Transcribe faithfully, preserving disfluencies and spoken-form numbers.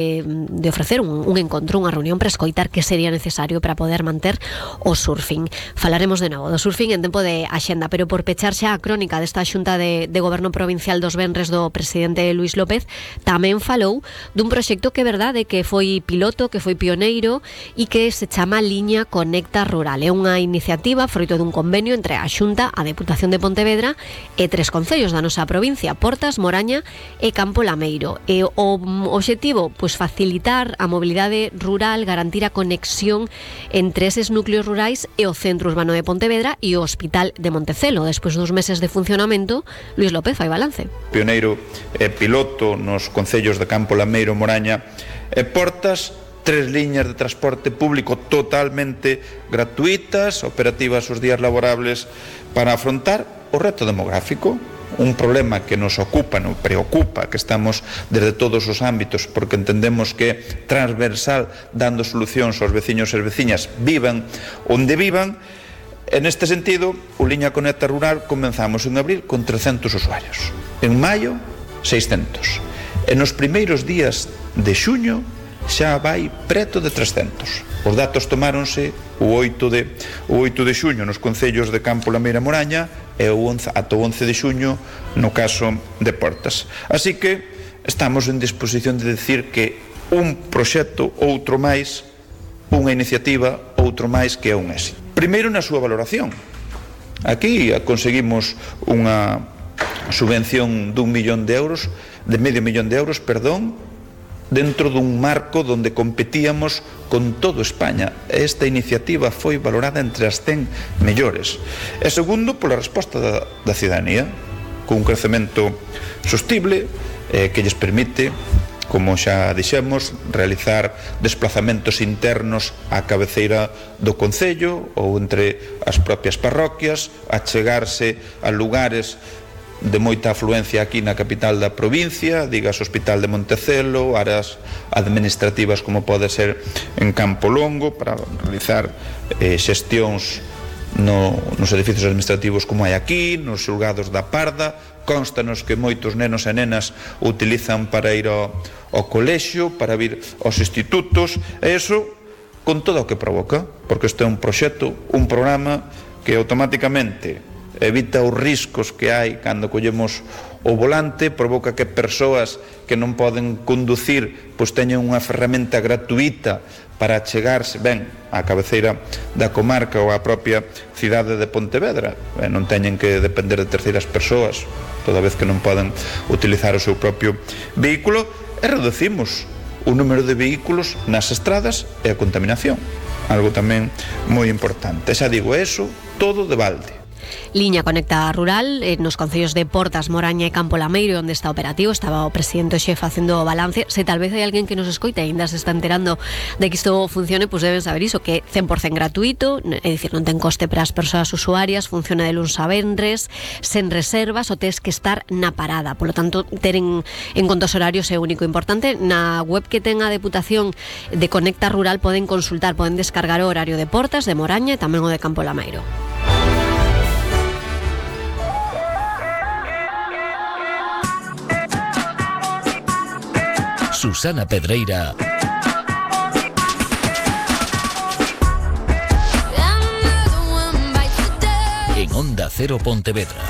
de ofrecer un, un encontro, unha reunión para escoitar que sería necesario para poder manter o surfing. Falaremos de novo do surfing en tempo de axenda, pero por pechar xa a crónica desta xunta de, de goberno provincial dos venres do presidente Luís López, tamén falou dun proxecto que é verdade que foi piloto, que foi pioneiro e que se chama Liña Conecta Rural. É unha iniciativa froito dun convenio entre a Xunta, a Deputación de Pontevedra e tres concellos da nosa provincia, Portas, Moraña e Campo Lameiro. E o obxectivo, pois, facilitar a mobilidade rural, garantir a conexión entre eses núcleos rurais e o centro urbano de Pontevedra e o Hospital de Montecelo. Despois dos meses de funcionamento, Luís López fai balance. Pioneiro e piloto nos concellos de Campo Lameiro, Moraña e Portas, tres liñas de transporte público totalmente gratuitas, operativas os días laborables para afrontar o reto demográfico. Un problema que nos ocupa, nos preocupa, que estamos desde todos os ámbitos, porque entendemos que é transversal, dando solucións aos veciños e as veciñas, vivan onde vivan. En este sentido, o Liña Conecta Rural comenzamos en abril con trescentos usuarios, en maio seiscentos, e nos primeiros días de xuño xa vai preto de trescentos. Os datos tomáronse o oito de, o oito de xuño nos concellos de Campo Lameiro e Moraña e o once, ata o once de xuño no caso de Portas. Así que estamos en disposición de decir que un proxecto, outro máis, unha iniciativa, outro máis, que é un éxito. Primeiro na súa valoración. Aquí conseguimos unha subvención dun millón de euros, de medio millón de euros, perdón, dentro dun marco donde competíamos con todo España. Esta iniciativa foi valorada entre as cen mellores. E segundo, pola resposta da, da cidadanía, con un crecemento sostible eh, que lles permite, como xa dixemos, realizar desplazamentos internos á cabeceira do concello ou entre as propias parroquias, achegarse a lugares de moita afluencia aquí na capital da provincia, digas Hospital de Montecelo, áreas administrativas como pode ser en Campo Longo, para realizar eh, xestións no, nos edificios administrativos como hai aquí, nos xulgados da Parda. Constanos que moitos nenos e nenas utilizan para ir ao, ao colexio, para vir aos institutos, e iso con todo o que provoca, porque isto é un proxecto, un programa que automáticamente evita os riscos que hai cando collemos o volante, provoca que persoas que non poden conducir pois teñen unha ferramenta gratuita para chegarse ben á cabeceira da comarca ou á propia cidade de Pontevedra, e non teñen que depender de terceiras persoas toda vez que non poden utilizar o seu propio vehículo, e reducimos o número de vehículos nas estradas e a contaminación, algo tamén moi importante. Xa digo, eso todo de balde. Liña Conecta Rural eh, nos concellos de Portas, Moraña e Campo Lameiro, onde está operativo. Estaba o presidente o xef facendo o balance. Se tal vez hai alguén que nos escoita e ainda se está enterando de que isto funcione, pois deben saber iso, que é cen por cen gratuito, é dicir, non ten coste para as persoas usuarias, funciona de luns a venres, sen reservas, o tes que estar na parada. Por lo tanto, ter en, en conta os horarios é único. Importante, na web que ten a Deputación de Conecta Rural poden consultar, poden descargar o horario de Portas, de Moraña e tamén o de Campo Lameiro. Susana Pedreira en Onda Cero Pontevedra.